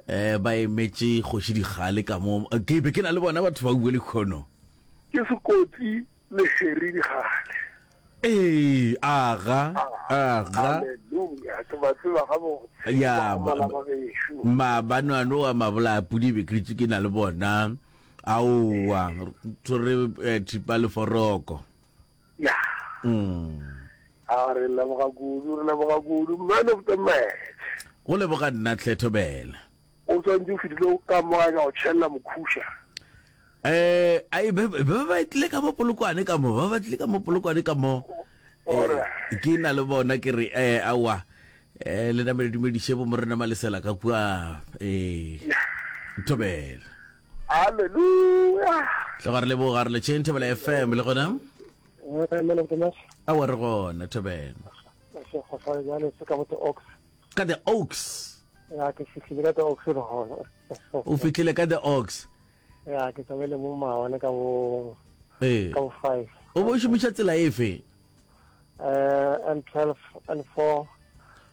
Eh ba emetše kgoši Dikgale ka mo. Ke be ke na le bona batho ba bue lekhono. Ke Sekotsi le Harry Dikgale. Ee, aga, aga. Hallelujah, ke ba tseba gabotse. Ya, Bakgomana ba gešo. maabane ano wa mabolaya pudi be ke dutše ke na le bona. Aowa, re eh, thipa le foroko. Ya. Mm. A re leboga kudu, re leboga kudu. Man of the match. Go leboga nna tlhe Thobela. O swantse o fetile ka mo gae ka go tšhelela mokhuša. Eh, ai ba ba ba tlile ka mo Polokwane ka mo, ba ba tlile ka mo Polokwane ka mo. Eh, ke na le bona ke re eh aowa. Eh le namele dumediše bo morena Malesela ka kua eh Thobela. Hallelujah. Tloga re leboga re letšheng Thobela FM le gona. Eh, man of the match. Aowa re gona Thobela. Se go sa jale se ka bo the Oaks. Ka the Oaks. Ya ke fihlile ka the Oaks le gona. O fihlile ka the Oaks. Ya ke tsamaile mo maabane ka bo Ee. ka bo 5. O bo šomiša tsela efe? Eh N12 N4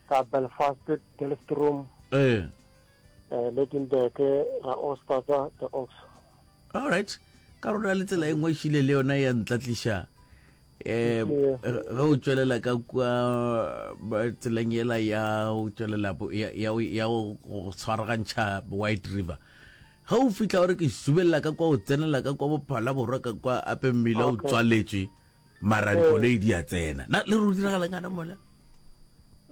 ka Belfast Delftroom. Ee. Eh Lydenburg ra Oostadza the Oaks. All right. Ka rona le tsela e nngwe e šile le yona ya ntlatliša eh ge o tšwelela ka kua tseleng yela ya o tšwelela ya ya go tshwaragantšha White River ge o fihla o re ke subelela ka kwa o tsenela ka kwa bophala borwa ka kwa ape mmila o tswaletšwe mara dikoloi di a tsena na le re o diragala ngana mola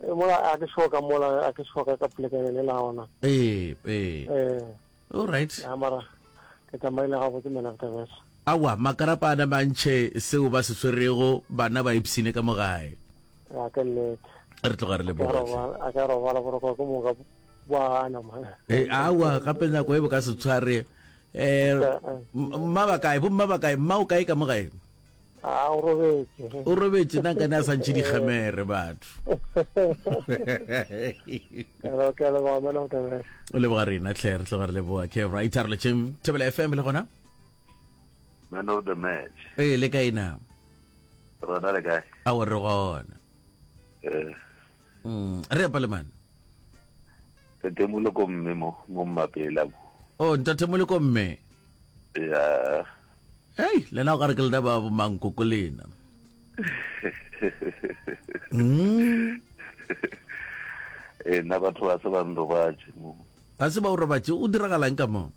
eh, mola a ke sure ka mola a ke sure ka polekane le la ona ee ee eh All right. Ya mara ke tsamaile gabotse man of the match. Aowa, makarapa a na mantšhe seo ba se swerego, bana ba ipshine ka mo gae. Ya ke nnete. Re tloga re leboga hle. A ka robala boroko ke moka bo ana man. Eh, aowa, gape nako e bo ka se tshware. Eh, mma ba kae? Bomma ba kae? Mma o kae ka mo gae? A o robetše. O robetše nna nkane a sa ntšhe dikgemere batho. Ke a leboga man of the match. O leboga rena tlhe re tloga re leboga ke right re letšeng Thobela FM le gona. Man of the match. Ee le kae na? Rona le kae? A o re gona. Eh. Mm, re apa le man. Ntate Moloko mme mo mo mmapela mo. Oh ntate Moloko mme. Ya. Hei, lena o ka re ke lena ba bomankoko lena. Mm. Eh, nna batho ba se ba nrobatše mo. Ba se ba o robatše, o diragalang ka mo?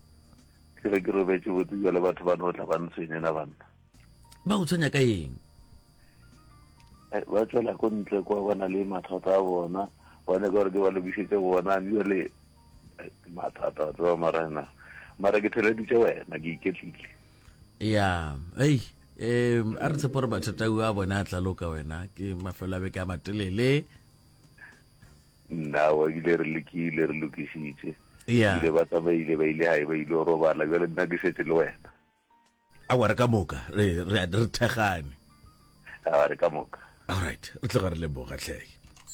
Ke re ke robetše botse jale batho ba no tla ba ntshwenye na banna. Ba go tshwenya ka eng? Eh, ba tswela ko ntle kwa ba na le mathata a bona ba nyaka gore ke ba lokišetse bona jale eh, mathata wa tseba mara na mara ke theleditše wena ke iketlile ya ei um a re tshepo gore mathata a bona a tla loka wena ke mafelo a beke a matelele nna wa ebile re lekile re lokišitše ya ile ba tsamaile ba ile gae ba ile go robala jale nna ke šetše le wena Aowa, re ka moka, re, re, re thekgane. Aowa, re ka moka. Alright, re tloga re leboga hle.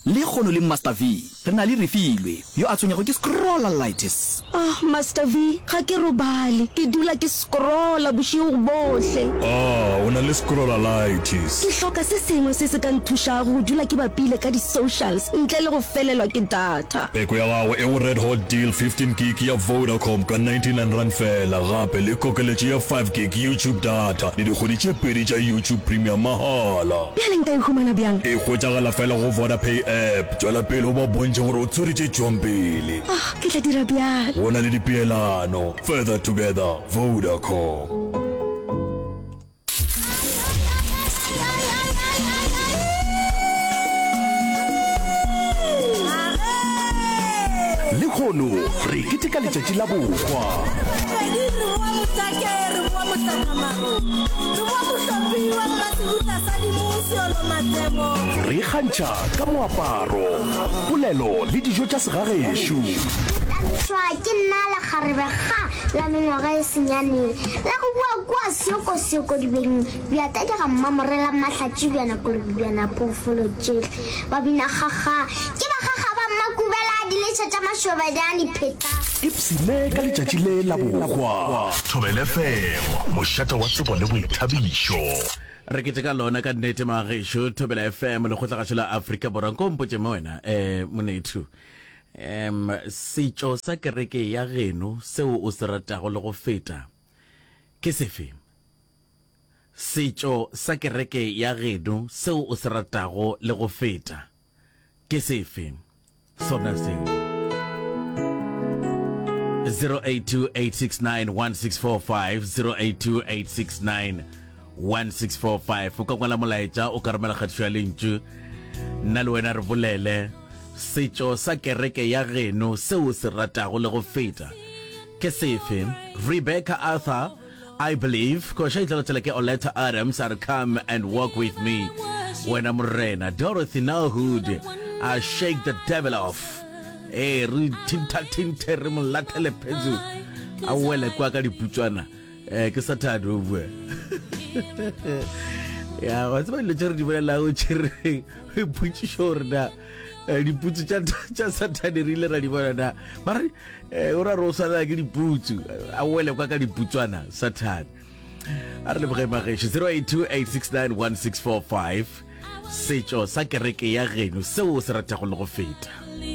Lekgono le Master V, re na le Refilwe, yo a tshwenyago ke scrollalitis. Ah, Master V, ga ke robale. Ke dula ke scrolla bošego bohle. Ah, o na le scrollalitis. Ke hloka se sengwe se se ka nthušago go dula ke bapile ka di-socials ntle le go felelwa ke data. Peko ya gago e go Red Hot Deal 15 gig ya Vodacom ka R99 feela gape le kokeletšo ya 5 gig YouTube data le dikgwedi tše pedi tša YouTube Premium mahala. Bjale nka e humana bjang? E hwetšagala feela go Vodapay app. Tšwela pele o ba bontšhe gore o tshwere tše tšwang pele. Ah, ke tla dira bjalo. Go na le dipeelano. Further together, Vodacom. Lehono re keteka letšatši la bohwa. Re ikgantšha ka moaparo, polelo le dijo tša segagešo. Ke nna lekgarebe ga la mengwaga e senyane la go bua kua Seokosoko dibeng bja tadi ga mmamorela mahlatši bjana kolobi bjana phoofolo tšehle ba bina gaga ke ba gaga ba mmakubela diletšha tša mašobanyane pheta. Ipshine ka letšatši le la bohwa. Thobela FM, mošate wa tsebo le boithabišo. Re keteka lona ka nnete magešo Thobela FM lekgotlagašo la Afrika Borwa nko mpotše mo wena eh monethu. Um setšo sa kereke ya geno seo o se ratago le go feta ke sefe? Setšo sa kereke ya geno seo o se ratago le go feta ke sefe? Sona seo. 0828691645 0828691645 o ka ngwala molaetša o ka romela kgatišo ya lentšu nna le wena re bolele setšo sa kereke ya geno seo o se ratago le go feta ke sefe rebecca arthur I believe koša e tla latela ke Oleta Adams a re come and walk with me wena morena Dorothy Nahood a shake the devil off ee re thinthathinthe re mo lathele phetso a wele kwa ka diputswana um ke sathane o bua ya wa tseba dilo tše re di bolelago tše re ipotšišo gore na eh, diputsu tša sathane re ile ra di bona na mare eh, o ra re o swanela ke diputsu a wele kwa ka diputswana sathane a re leboge magešo 0828691645 setšo sa kereke ya geno seo o se ratago le go feta.